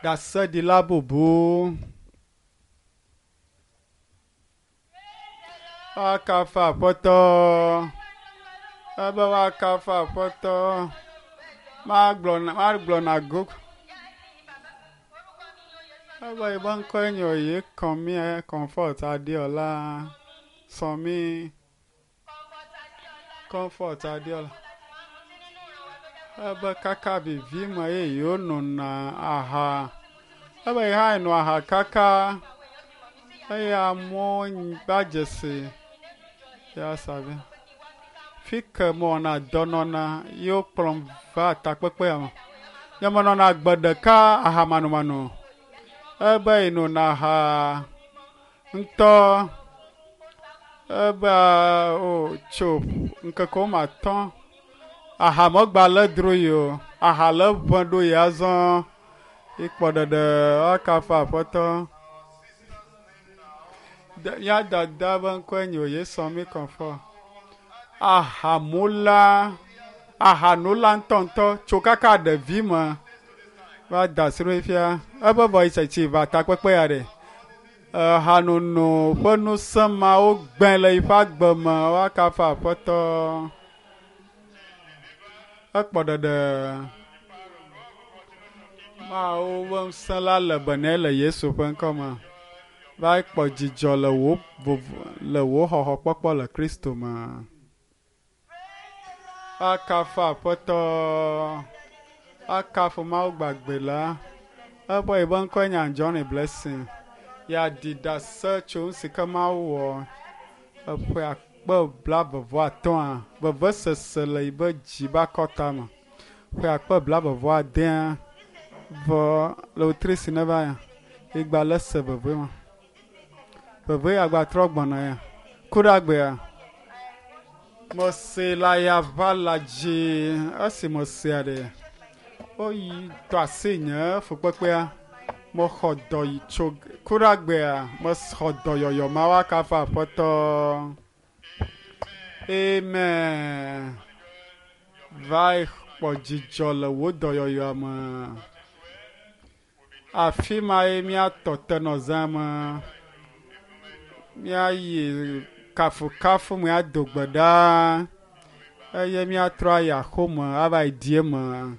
Ɖaseɖila bubu. Woakafu Aƒetɔ. Ebe woakafu Aƒetɔ. Magblɔ na magblɔ na go. Ebe yibe ŋkɔe nye oye kɔmi Comfort Adeola Sɔmi Comfort Adeola. Ebe kaka vivi me ye yewo nona aha. Ebe yi hã eno aha kaka eye amewo va dzesi ya savi. Fi ke mewɔna dɔ nɔna ye wokplɔm va takpekpea me. Nye menɔna gbe ɖeka aha manomano. Ebe yi nona aha ŋutɔ. Ebe o tso ŋkeke woame atɔ̃ aha megba le dro yi o. Aha le ʋẽ ɖo yi azɔ. Ikpɔ ɖeɖe woakafu Aƒetɔ. Mía dada be ŋkɔe nye Oyesɔmi Comfort. Ahamula, ahanola ŋutɔŋutɔ tso kaka ɖevi me va da asi ɖo fifia. Eƒe vɔ yi tsitsi va takpekpe ya ɖe. Ehanono ƒe ŋusẽ mawo gbẽ le yiƒe agbe me woakafu Aƒetɔ. Ekpɔ ɖeɖe. Mawu ƒe ŋusẽ la le be nɛ le Yesu ƒe ŋkɔ me. Va kpɔ dzidzɔ le wò vovo le wò xɔxɔkpɔkpɔ le Kristo me. Akafu Aƒetɔ. Akafu Mawu gbagbe la. Eƒe yiƒe ŋkɔe nye Anjorin Blessing. Yeaɖi ɖase tso nu si ke Mawu wɔ eƒe akpe blaeve-vɔ-atɔ̃a vevesese le yiƒe dzi be akɔta me. Ƒe akpe blaeve-vɔ-adea vɔ le wetri si neva ya igba le se veve ma. Veve ya gba trɔ gbɔna ya. Ku ɖe agbea. Mese le ayaʋala dzi esi mesea ɖe. Woyi tɔ asi nye fukpekpea. Mexɔ dɔ yi tso ku ɖe agbea. Mexɔ dɔyɔyɔ ma woakafu Aƒetɔ. Amen. Va kpɔ dzidzɔ le wò dɔyɔyɔa me. Afi ma ye míatɔ te nɔ zã me. Míayi kafukafu me ado gbe ɖa eye míatrɔ ayi axome ava yi di eme.